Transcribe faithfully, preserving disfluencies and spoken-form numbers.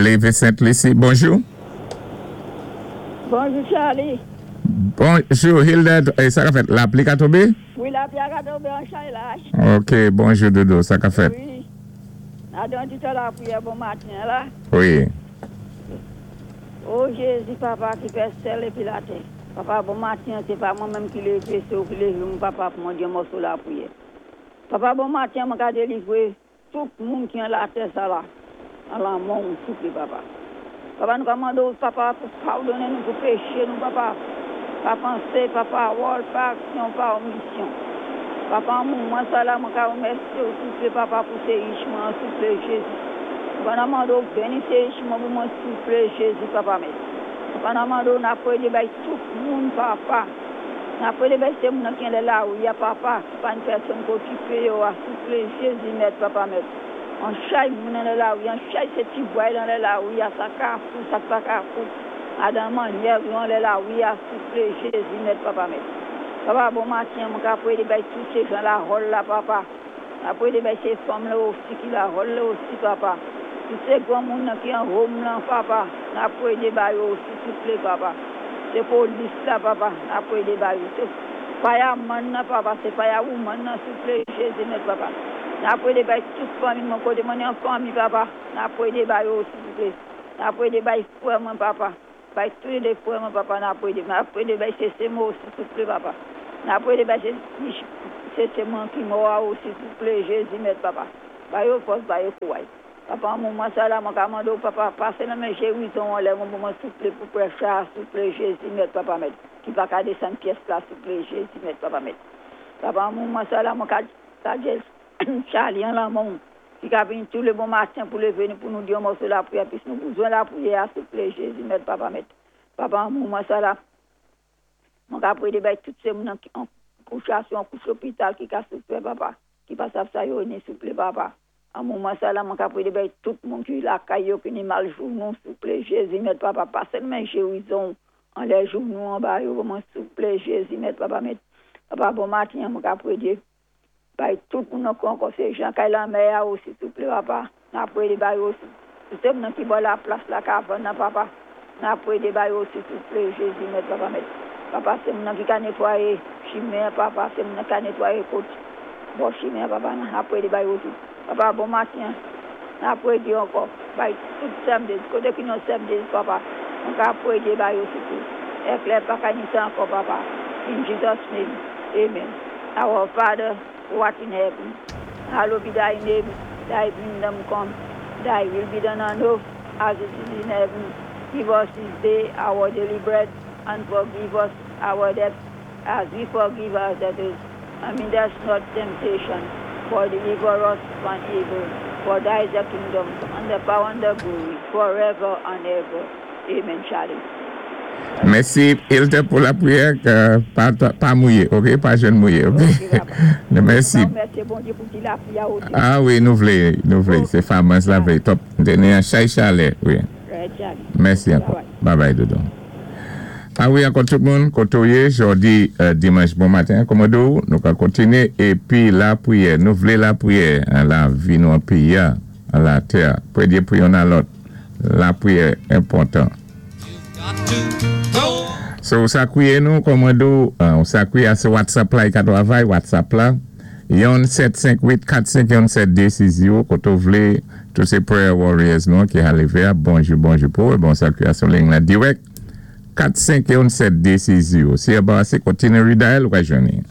Lévé Sainte-Lucie. Bonjou. Bonjou, Charlie. Bonjou, Hilda. É sa ka fèt? Lapli ka tonbé? Wi, lapli ka tonbé an chay la. OK, bonjou, Dodo. Sa ka fèt? Wi. Adan di lapriyè bon maten la. Wi. O Jézi, Papa, ki fè syèl épi latè. Papa, bon maten, sé pa mwen menm ki lévé, sé ou ki lévé, mon papa, pou mwen di yon mòso lapriyè. Papa, bon maten, mwen ka délivré tout moun ki an latè sa la, an lanmò, souplé, papa. Papa, nou mandé, papa, pou padonnen nou, pou péché nou, papa. Pa pansé, pa pawòl, pa aksyon, pa omisyon. Papa, moman sa la, mwen ka wémèsyé ou, souplé, papa, pou sé mwen, souplé, Jézi. Papa, nou mandé béni sé mwen pou mwen, souplé, Jézi, papa, mèt. Papa, nou mandé, n ap pwédé bay tout moun, papa. N ap pwédé bay sé moun ki la wi, papa. Pa ni pèsonn ki okipé yo, souplé, Jézi, mèt, papa, mèt. An chay moun nan lawi, an chay sé ti bway nan lawi, sa kafou, sa pa kafou. Adan mannyè nan lawi, souplé, Jézi, mèt, papa, mèt. Papa, bon maten, mwen ka pwédé bay tout sé jan la hòl la, papa. Apwé bay sé fanm la osi ki la hòl la osi, papa. Tout sé gran moun ki an home la, papa. N ap pwédé bay osi, souplé, papa. Sé polis la, papa. N ap pwédé bay. Sé fireman nan, papa. Sé firewoman nan, souplé, Jézi, mèt, papa. N ap pwédé bay tout fanmi, mon koté, mwen an fanmi, papa. N ap pwédé bay osi, souplé. N ap pwédé bay frè mwen, papa. Bay toulé frè mwen, papa, n ap pwédé. N ap pwédé bay sé mwen osi, souplé, papa. N ap pwédé bay sé sé mwen ki mò osi, souplé, Jézi, mèt, papa. Bay yo fòs, bay yo kouway. Papa, moman sa la, mwen ka mandé, papa, pasé nan men gérizon anlè, mwen, mwen souplé, pou pressure, souplé, Jézi, mèt, papa, mèt. Ki pa ka désann pyès la, souplé, Jézi, mèt, papa, mèt. Papa, moman sa la, mwen ka, ka Charlie an lanmò, ki ka vini toulé bon maten pou lévé pou nou di yon mòso lapriyè, pis nou bézwen lapriyè, souplé, Jézi, mèt, papa, mèt. Papa, moman sa la, mwen ka pwédé bay tout sé moun ki an kouchasyon, kouch lopital, ki ka soufwé, papa, ki pa sav sa yo ni, souplé, papa. An moman sa la, mwen ka pwédé bay tout moun ki lakay yo, ki ni mal jounou, souplé, Jézi, mèt, papa, pasé men gérizon, anlè jounou, anba yo, mwen souplé, Jézi, mèt, papa, mèt. Papa, bon maten, mwen ka pwédé bay tout moun ankò, sé jan kay lanmè osi, souplé, papa. N ap pwédé bay osi. Tout sé moun ki bò la plas la kavann nan, papa. N ap pwédé bay osi, souplé, Jézi, mèt, papa, mèt. Papa, sé moun ki ka nétwayé chimen, papa, sé moun ki nétwayé kot. Bon chimen, papa, n ap pwédé bay osi. Papa, bon maten. N ap pwédé ankò. Bay tout samdi, koté ki nou samdi, papa. Nou ka pwédé bay osi tou. Éklè pa ka ni sa ankò, papa. In Jesus' name. Amen. Our Father, who art in heaven, hallowed be thy name, thy kingdom come, thy will be done on earth as it is in heaven. Give us this day our daily bread, and forgive us our debts as we forgive our debtors. And lead us not temptation, but deliver us from evil. For thine is the kingdom, and the power and the glory, forever and ever. Amen, Charlie. Mèsi, Hilda, pou lapriyè, ké pa, pa mouyé, OK? Pa jwenn mouyé, OK? OK, papa. Mèsi. Mèsi, Bondyé, pou ti lapriyè osi. A wi, nou vlé, nou vlé. Sé farmers la vlé. Top. Ni an chay chalè, wi. Right, Charlie. Mèsi ankò. Bye bye, Dodo. A wi, ankò tout moun, koté ou yé, jòdi, euh, dimanch bon maten, kòman nou, nou ka kontiné, épi lapriyè, nou vlé lapriyè, an lavi nou an péyi, an latè, pwédé pou youn a lòt, lapriyè enpòtan. So, sa kwiyé nou, kòman nou, euh, sa kwiyé sé WhatsApp la, i ka twavay, WhatsApp la, yon sèt senk uit kat senk yon sèt dé sis zéwo, koté ou vlé, tout sé prayer warriors nou, ki a lévé, bonjou, bonjou pou, bon sa kwiyé sou liy la dirèk, kat senk yon sèt dé sis zéwo. Si y a pas assez, kontiné redial ou ka jwenn.